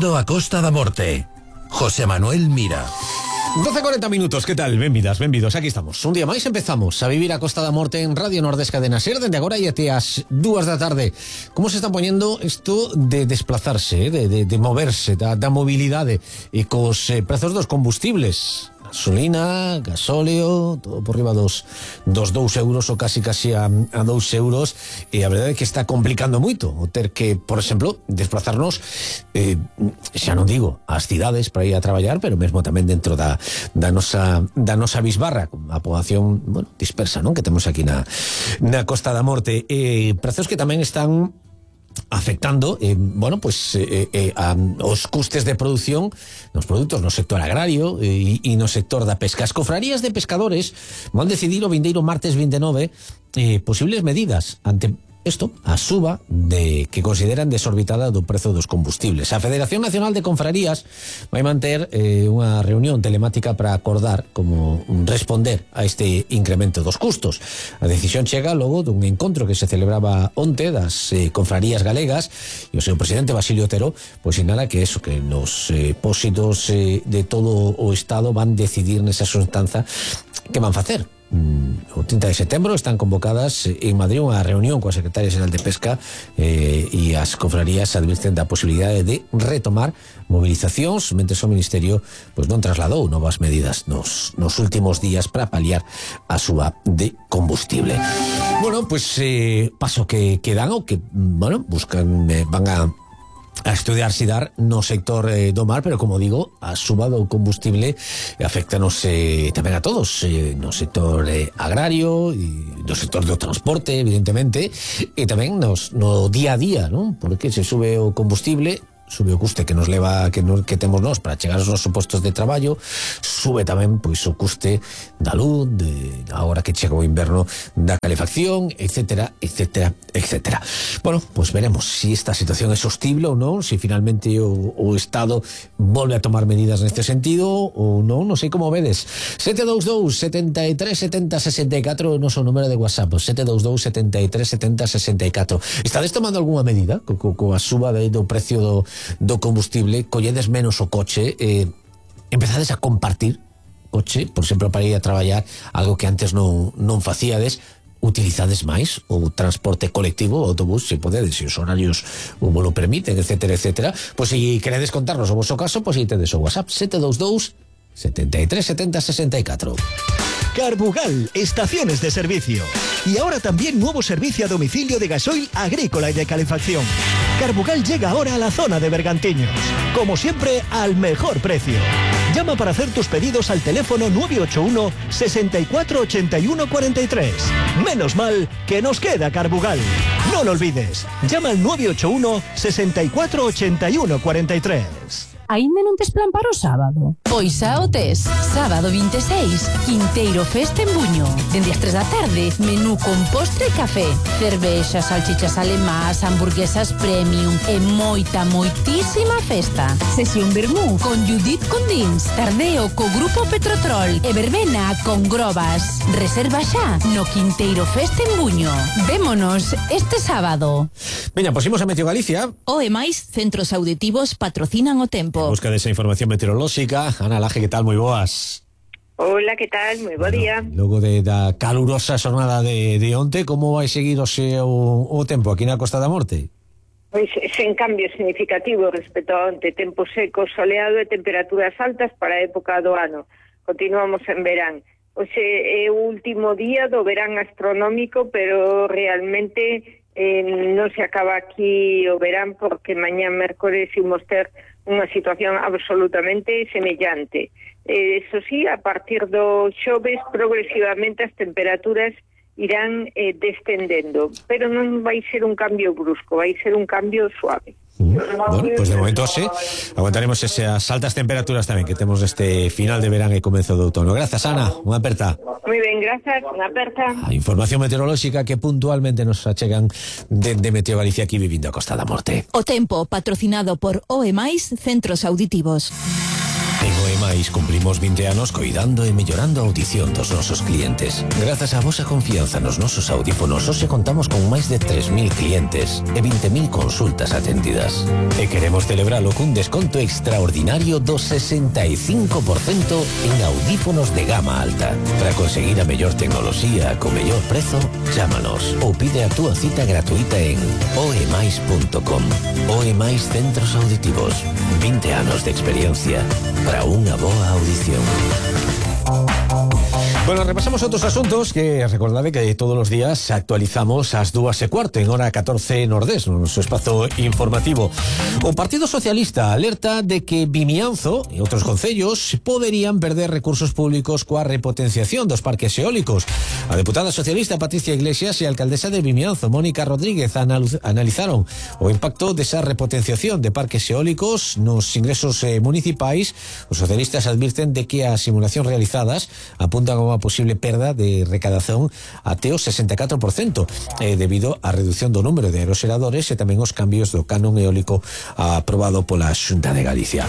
Vivindo a Costa da Morte. José Manuel Mira. 12:40 minutos, que tal? Benvidas, benvidos, aquí estamos. Un día máis empezamos a vivir a Costa da Morte en Radio Nordés Cadena Ser, dende agora e até as 2 da tarde. Como se está poñendo isto de desplazarse, de moverse, da mobilidade e cos prezos dos combustibles? Gasolina, gasóleo, todo por riba dos 2 euros ou casi a 2 euros, e a verdade é que está complicando moito o ter que, por exemplo, desplazarnos, xa non digo ás cidades para ir a traballar, pero mesmo tamén dentro da nosa bisbarra, a poboación, bueno, dispersa, non, que temos aquí na Costa da Morte, prezos que tamén están afectando, os custes de produción nos produtos no sector agrario e no sector da pesca. As cofrarías de pescadores van decidir o vindeiro martes 29 posibles medidas ante isto, a suba que consideran desorbitada do prezo dos combustibles. A Federación Nacional de Confrarías vai manter unha reunión telemática para acordar como responder a este incremento dos custos. A decisión chega logo dun encontro que se celebraba onte das confrarías galegas, e o seu presidente Basilio Otero pois sinala que nos pósitos de todo o Estado van decidir nesa xuntanza que van facer. O 30 de setembro están convocadas en Madrid unha reunión coa Secretaria Xeral de Pesca, e as confrarías advirten da posibilidade de retomar movilizacións mentre o Ministerio pois non trasladou novas medidas nos últimos días para paliar a súa de combustible. Bueno, pois paso que dan o que, buscan, van a estudiar si dar no sector do mar, pero como digo, a suba do combustible afectanos tamén a todos, no sector agrario e no sector do transporte, evidentemente, e tamén no día a día, non? Porque se sube o combustible, sube o custe que nos leva que temos nós para chegar aos nosos postos de traballo, sube tamén pois o custe da luz, agora que chega o inverno, da calefacción, etcétera, etcétera, etcétera. Bueno, pois veremos si esta situación é sostible ou non, si finalmente o Estado volve a tomar medidas neste sentido ou non, non sei como vedes. 722 73 70 64 o noso número de WhatsApp, 722 73 70 64. Estades tomando algunha medida coa suba do precio do combustible? Colledes menos o coche, empezades a compartir coche, por exemplo, para ir a traballar, algo que antes non facíades? Utilizades máis o transporte colectivo, o autobús, se podedes, se os horarios o lo permiten, etcétera, etcétera? Pois se queredes contarnos o vosso caso, pois tedes o WhatsApp 722 73 70 64. Carbugal, estaciones de servicio. Y ahora también nuevo servicio a domicilio de gasoil agrícola y de calefacción. Carbugal llega ahora a la zona de Bergantiños. Como siempre, al mejor precio. Llama para hacer tus pedidos al teléfono 981 64 81 43. Menos mal que nos queda Carbugal. No lo olvides. Llama al 981 64 81 43. Aínda non tes plan para o sábado? Pois xa o tes. Sábado 26, Quinteiro Festa en Buño. Dende as 3 da tarde, menú con postre e café. Cervexas, salchichas alemás, hamburguesas premium e moitísima festa. Sesión vermú con Judith Condins, tardeo co Grupo Petrotrol e verbena con Grobas. Reserva xa no Quinteiro Festa en Buño. Vémonos este sábado. Veña, pois imos a Meteo Galicia. O e máis centros auditivos patrocinan o tempo. En busca desa información meteorolóxica. Ana Laje, que tal? Moi boas. Hola, que tal? Moi bo día. Logo da calurosa xornada de onte, como vai seguir o tempo aquí na Costa da Morte? Pois sen cambio significativo respecto a onte. Tempo seco, soleado e temperaturas altas para a época do ano. Continuamos en verán. Hoxe é o último día do verán astronómico, pero realmente non se acaba aquí o verán, porque mañá mércores imos ter unha situación absolutamente semellante. Eso sí, a partir do xoves progresivamente as temperaturas irán descendendo, pero non vai ser un cambio brusco, vai ser un cambio suave. Bueno, pois de momento sí, aguantaremos esas altas temperaturas tamén que temos este final de verán e comezo de outono. Grazas, Ana, unha aperta. Moi ben, grazas, unha aperta. A información meteorolóxica que puntualmente nos achegan de Meteo Galicia aquí vivindo a Costa da Morte. O tempo patrocinado por OE+, Centros Auditivos. En OEMAIS cumplimos 20 anos coidando e mellorando a audición dos nosos clientes. Grazas á vosa confianza nos nosos audífonos, hoxe contamos con máis de 3.000 clientes e 20.000 consultas atendidas. E queremos celebralo cun desconto extraordinario do 65% en audífonos de gama alta. Para conseguir a mellor tecnoloxía co mellor prezo, chámanos ou pide a túa cita gratuita en oemais.com. OEMAIS Centros Auditivos. 20 anos de experiencia para unha boa audición. Bueno, repasamos outros asuntos que recordade que todos os días actualizamos ás 2:15 en hora 14 Nordés, no noso espazo informativo. O Partido Socialista alerta de que Vimianzo e outros concellos poderían perder recursos públicos coa repotenciación dos parques eólicos. A deputada socialista Patricia Iglesias e a alcaldesa de Vimianzo, Mónica Rodríguez, analizaron o impacto desa repotenciación de parques eólicos nos ingresos municipais. Os socialistas advirten de que as simulacións realizadas apuntan a unha posible perda de recadación até o 64% debido á reducción do número de aeroxeradores e tamén os cambios do canon eólico aprobado pola Xunta de Galicia.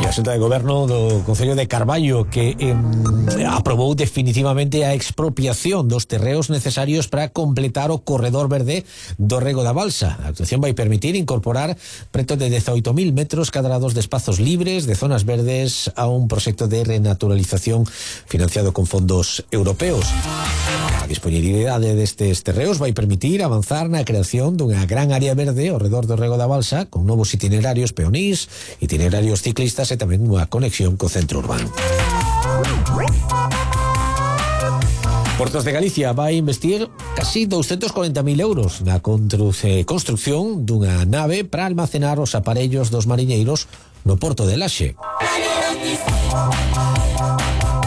E a Xunta de Goberno do Concello de Carballo que aprobou definitivamente a expropiación dos terreos necesarios para completar o corredor verde do Rego da Balsa. A actuación vai permitir incorporar preto de 18.000 metros cadrados de espazos libres de zonas verdes a un proxecto de renaturalización financiado con fondos europeos. A disponibilidade destes terreos vai permitir avanzar na creación dunha gran área verde ao redor do Rego da Balsa con novos itinerarios peonís, itinerarios ciclistas e tamén unha conexión co centro urbano. Portos de Galicia vai investir casi 240.000 euros na construción dunha nave para almacenar os aparellos dos mariñeiros no Porto de Laxe.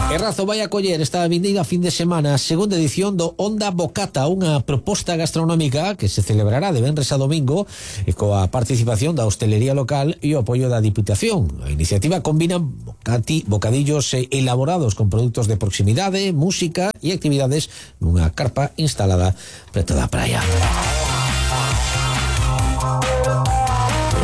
Errazo vai acoller esta vindeira fin de semana a segunda edición do Onda Bocata, unha proposta gastronómica que se celebrará de venres a domingo e coa participación da hostelería local e o apoio da Diputación. A iniciativa combina bocadillos elaborados con produtos de proximidade, música e actividades nunha carpa instalada preto da praia.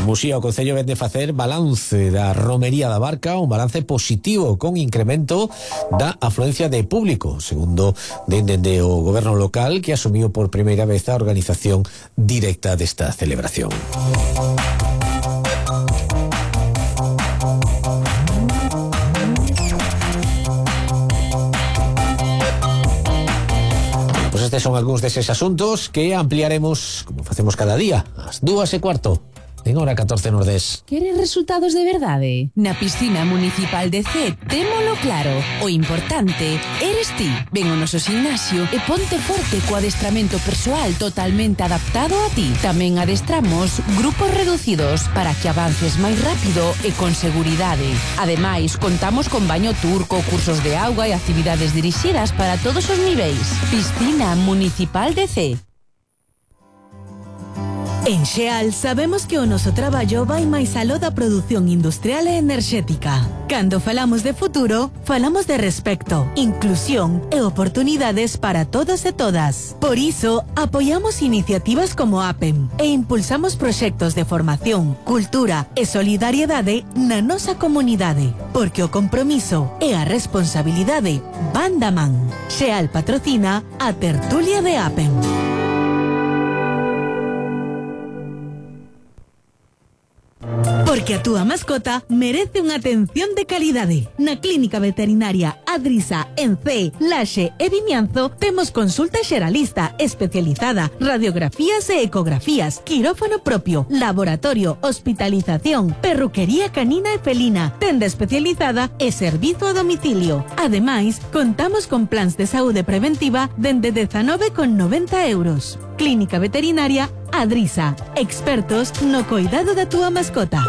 Muxía, o Concello vende facer balance da romería da Barca, un balance positivo con incremento da afluencia de público, segundo dende o goberno local que asumiu por primeira vez a organización directa desta celebración. Pois estes son algúns deses asuntos que ampliaremos, como facemos cada día, ás 2:15. En hora 14 Nordés. Queres resultados de verdade? Na piscina municipal de C, témolo claro. O importante eres ti. Ven ao noso gimnasio e ponte forte co adestramento persoal totalmente adaptado a ti. Tamén adestramos grupos reducidos para que avances máis rápido e con seguridade. Ademais, contamos con baño turco, cursos de auga e actividades dirixidas para todos os niveis. Piscina municipal de C. En Xeal sabemos que o noso traballo vai máis aló da produción industrial e enerxética. Cando falamos de futuro, falamos de respecto, inclusión e oportunidades para todos e todas. Por iso, apoiamos iniciativas como APEM e impulsamos proxectos de formación, cultura e solidariedade na nosa comunidade, porque o compromiso e a responsabilidade van da man. Xeal patrocina a tertulia de APEM. Porque a túa mascota merece unha atención de calidade. Na Clínica Veterinaria Adrisa en C, Laxe e Vimianzo temos consulta xeralista especializada, radiografías e ecografías, quirófano propio, laboratorio, hospitalización, perruquería canina e felina, tenda especializada e servizo a domicilio. Ademais, contamos con plans de saúde preventiva dende 19,90 euros. Clínica Veterinaria Adrisa, expertos no cuidado da túa mascota.